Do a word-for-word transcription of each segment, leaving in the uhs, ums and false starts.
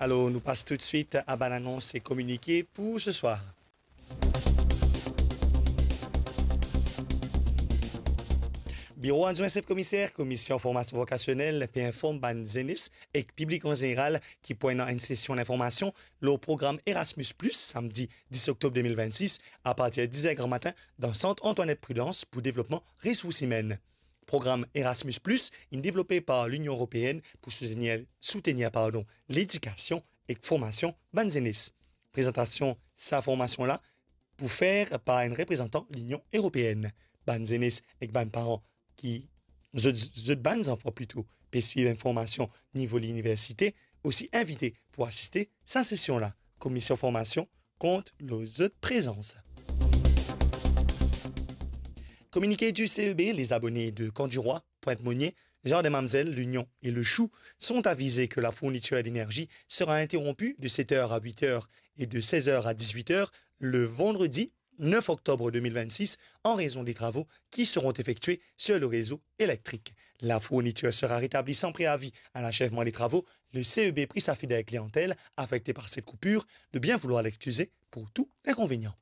Alor, nou pas toutswit a bann anons e kominike pou seswar. Biro Adwin Sef Komiser Komisyon Formasion Vokasionel pe inform bann zenes ek piblik an zeneral ki pou ena enn sesion linformasion lor program Erasmus Plus, samdi dis oktob de mil vennsis, apartir diz er gramatin, dan Sant Antoinette Prudence pou devlopman resours imenn. Program Erasmus Plus inn devlope par Linion Eropeenn pou soutenir, soutenir, pardon, ledikasion ek formasion bann zenes. Prezantasion sa formasion la pou fer par enn reprezantan Linion Eropeenn. Bann zenes ek bann paran ki zot, zot bann zanfan plito, pe swiv enn formasion nivo liniversite, osi invite pou asiste sa sesion la. Komisyon Formasion kont lor zot prezans. Communiqué du C E B, les abonnés de Camp du Roi, Pointe-Monier, Jardin Mamzelle, L'Union et Le Chou sont avisés que la fourniture d'énergie sera interrompue de sept heures à huit heures et de seize heures à dix-huit heures le vendredi neuf octobre deux mille vingt-six en raison des travaux qui seront effectués sur le réseau électrique. La fourniture sera rétablie sans préavis à l'achèvement des travaux. Le C E B prie sa fidèle clientèle affectée par cette coupure de bien vouloir l'excuser pour tout inconvénient.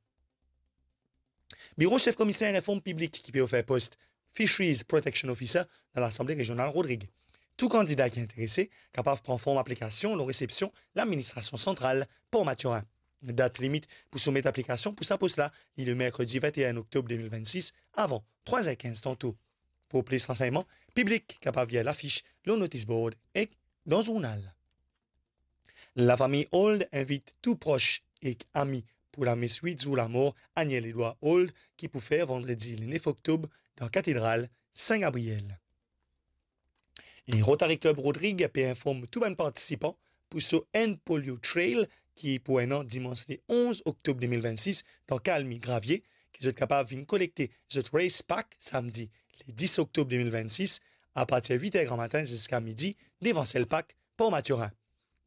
Biro Sef Komiser inform piblik ki pe ofer post Fisheries Protection Officer dan Lasanble Rezional Rodrig. Tou kandida ki interese kapav pran form aplikasion lor resepsion Ladministrasion Santral Port Mathurin. Dat limit pou soumet aplikasion pou sa pos la, li le merkredi vinte et un oktob deux mille vingt-six, avan trois heures quinze tanto. Pou plis ransegnman, piblik kapav lir lafis lor notis board ek dan zournal. Lafami Old invit tou pros ek ami pou lames wit zour lamor Aniel Edouard Old, ki pou fer vandredi le nef oktob dan Katedral Sin Gabriel. E Rotary Club Rodrig pe inform tou bann partisipan pou so End Polio Trail ki pou ena dimans le onz oktob deux mille vingt-six dan Kalmi Gravier, ki zot kapav vinn kolekte zot race pack samdi le dis oktob deux mille vingt-six, apartir wit er gramatin ziska midi, devan Selpak, Port Mathurin.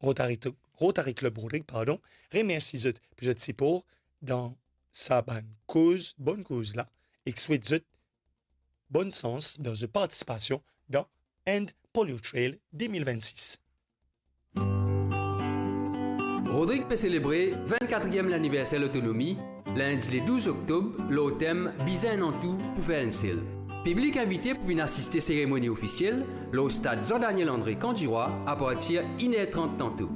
Rotary, Rotary Club Rodrig, pardon, remersi zot pou zot sipor dan sa bann koz, bonn koz la, ek swet zot bonn sans dan zot partisipasion dan End Polio Trail deux mille vingt-six. Rodrig pe selebre vinn-katriem laniverser lotonomi, lindi le douz oktob, lor tem Bizin enn an tou pou fer enn sel. Piblik invite pou vinn asiste seremoni ofisiel lor stad Jean Daniel André Camp du Roi apartir inn er trant tanto.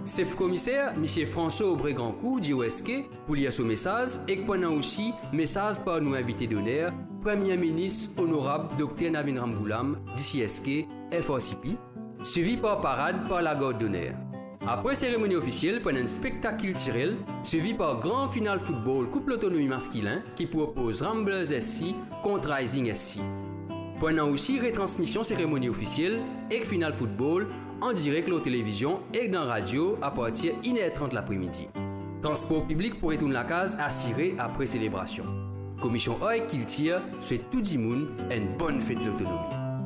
Sef Komiser, Misie François Aubray Grancourt, dir osi ke pou lir so mesaz, ek pou ena osi mesaz par nou invite doner, Premie Minis Onorab Dokter Navin Ramgoolam, D C S K, F R C P, swivi par parad par lagard doner. Apre seremoni ofisiel, pou ena enn spektak kiltirel, swivi par gran final foutbol Koup Lotonomi maskilin ki pou opoz Ramblers S C kont Rising S C. Pou ena osi retransmision seremoni ofisiel ek final foutbol an direk lor televizion ek dan radio apartir inn er trant lapremidi. Transpor piblik pou retourn lakaz asire apre selebrasion. Komisyon Art ek Kiltir swet tou dimoun enn bonn fet lotonomi.